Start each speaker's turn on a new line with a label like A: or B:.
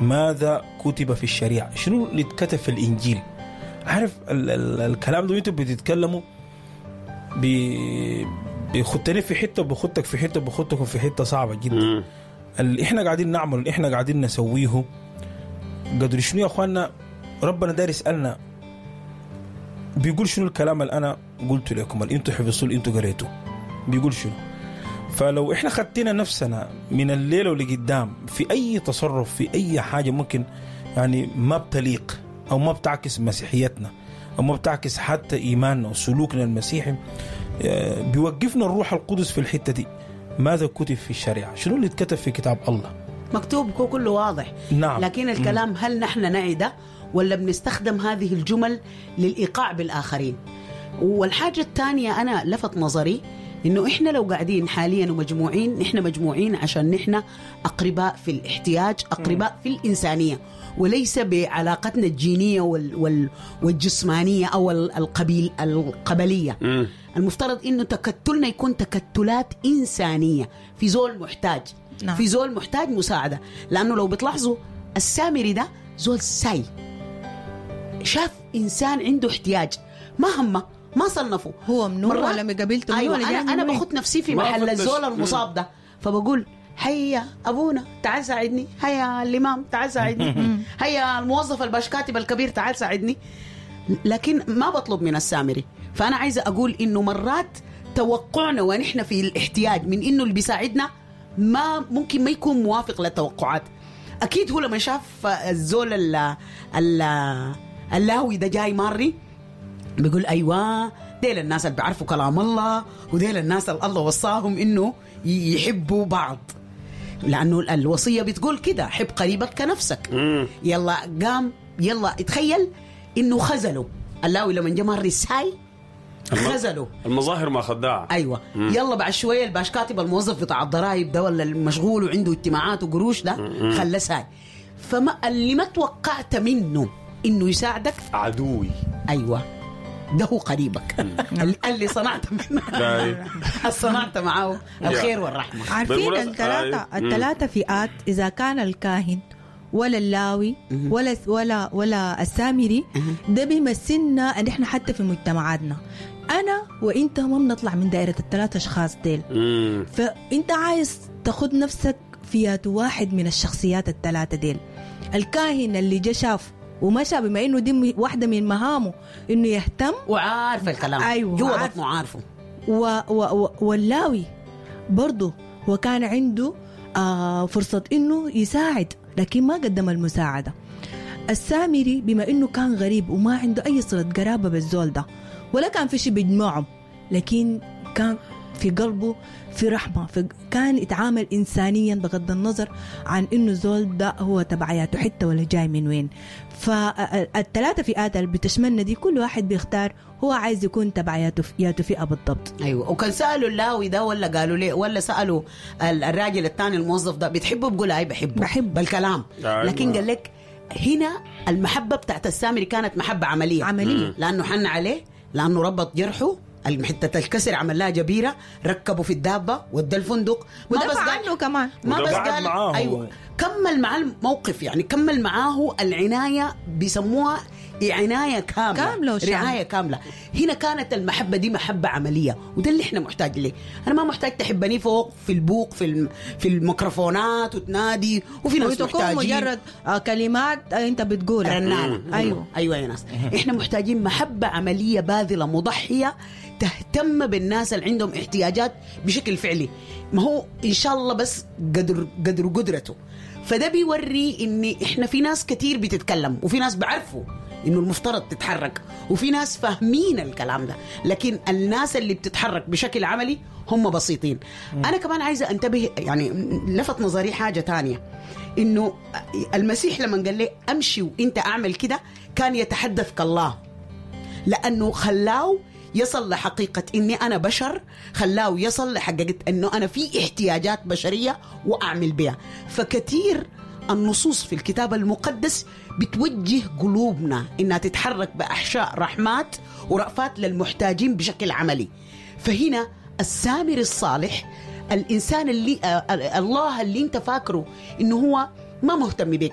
A: ماذا كتب في الشريعة؟ شنو اللي اتكتب في الانجيل؟ عارف ال ال الكلام ده وانتوا بتتكلموا بيخدني في حتة وبخدك في حتة وبخدكم في حتة صعبة جدا. اللي احنا قاعدين نعمله، اللي احنا قاعدين نسويه، قدر شنو يا اخواننا؟ ربنا داير يسالنا، بيقول شنو الكلام اللي انا قلته لكم، اللي انتوا حفظتوه، اللي انتوا قريتوه، بيقول شنو؟ فلو احنا ختينا نفسنا من الليلة واللي قدام في اي تصرف، في اي حاجة ممكن يعني ما بتليق او ما بتعكس مسيحيتنا او ما بتعكس حتى ايماننا وسلوكنا المسيحي، بيوقفنا الروح القدس في الحتة دي. ماذا كتب في الشريعة؟ شنو اللي اتكتب في كتاب الله؟
B: مكتوب كله واضح. لكن الكلام هل نحن نعي ده ولا بنستخدم هذه الجمل للإيقاع بالآخرين؟ والحاجة الثانية أنا لفت نظري إنه إحنا لو قاعدين حاليا ومجموعين، نحن مجموعين عشان نحن أقرباء في الاحتياج، أقرباء في الإنسانية، وليس بعلاقتنا الجينية والجسمانية أو القبلية. المفترض إنه تكتلنا يكون تكتلات إنسانية، في زول محتاج. في زول محتاج مساعدة. لأنه لو بتلاحظوا السامري ده زول ساي، شاف إنسان عنده احتياج، ما همه، ما صنفه
C: هو منو ولا من قبيلته.
B: أيوة، ولا أنا باخد نفسي في محل الزول المصاب ده، فبقول هيا أبونا تعال ساعدني، هيا الإمام تعال ساعدني، هيا الموظف الباشكاتب الكبير تعال ساعدني، لكن ما بطلب من السامري. فأنا عايزة أقول إنه مرات توقعنا ونحن في الاحتياج من إنه اللي بيساعدنا ما ممكن ما يكون موافق للتوقعات. أكيد هو لما شاف الزول اللاوي ده جاي ماري بيقول أيوة ديل الناس اللي بيعرفوا كلام الله، وديل الناس اللي الله وصاهم إنه يحبوا بعض، لأنه الوصية بتقول كده، حب قريبك كنفسك. يلا قام، يلا اتخيل إنه خزله اللاوي لما جا ماري ساي خزله.
D: المظاهر ما خداعة.
B: أيوة. يلا بعد شوية الباش كاتب الموظف بتاع الضرايب ده ولا المشغول وعنده اجتماعات وقروش ده خلاه ساي. فما اللي ما توقعت منه إنه يساعدك
D: عدوي.
B: أيوة، ده هو قريبك اللي صنعت منه، صنعت معه الخير والرحمة.
C: عارفين الثلاثة فئات، إذا كان الكاهن ولا اللاوي ولا ولا ولا السامري، ده بيمثلنا ان احنا حتى في مجتمعاتنا، انا وانت ما بنطلع من دائرة الثلاثة اشخاص ديل. فانت عايز تاخد نفسك في واحد من الشخصيات الثلاثة ديل. الكاهن اللي جا شاف ومشى، بما انه دي واحدة من مهامه انه يهتم
B: وعارف الكلام.
C: أيوة،
B: جوا بطنه عارفه.
C: واللاوي برضه هو كان عنده فرصة انه يساعد، لكن ما قدم المساعدة. السامري بما انه كان غريب وما عنده اي صلة قرابة بالزول ده ولا كان في شيء بيجمعهم، لكن كان في قلبه في رحمة، كان يتعامل إنسانيا بغض النظر عن إنه زول ده هو تبعياته حتى ولا جاي من وين. فالثلاثة فئات اللي بتشملنا دي كل واحد بيختار هو عايز يكون تبعياته فئة بالضبط.
B: أيوة. وكان سألوا اللاوي ده ولا قالوا ليه، ولا سألوا الراجل الثاني الموظف ده بتحبه، بقول أي بحبه،
C: بحب
B: بالكلام. لكن قال لك هنا المحبة بتاعت السامري كانت محبة عملية. لأنه حن عليه، لأنه ربط جرحه، حتة الكسر عمل لها جبيرة، ركبوا في الدابة ودى الفندق،
C: ما بس عنه كمان،
B: ما بس قال أيوة، كمل مع الموقف، يعني كمل معاه العناية، بيسموها عناية كاملة، رعاية كاملة. هنا كانت المحبة دي محبة عملية، وده اللي احنا محتاج ليه. أنا ما محتاج تحبني فوق في البوق في الميكروفونات وتنادي، وفي ناس محتاجين
C: مجرد كلمات أنت بتقولها
B: رنانة. أيوة يا ناس، احنا محتاجين محبة عملية باذلة مضحية، تهتم بالناس اللي عندهم احتياجات بشكل فعلي. ما هو إن شاء الله بس قدر قدرته. فده بيوري إن إحنا في ناس كتير بتتكلم، وفي ناس بعرفوا إنه المفترض تتحرك، وفي ناس فاهمين الكلام ده، لكن الناس اللي بتتحرك بشكل عملي هم بسيطين. أنا كمان عايزة أنتبه، يعني لفت نظري حاجة تانية، إنه المسيح لما قال لي أمشي وإنت أعمل كده كان يتحدث كالله، لأنه خلاه يصل لحقيقة إني أنا بشر، خلاه يصل لحقيقة إنه أنا في احتياجات بشرية وأعمل بها. فكثير النصوص في الكتاب المقدس بتوجه قلوبنا إنها تتحرك بأحشاء رحمات ورأفات للمحتاجين بشكل عملي. فهنا السامر الصالح، الإنسان اللي الله اللي أنت فاكره إنه هو ما مهتم بك.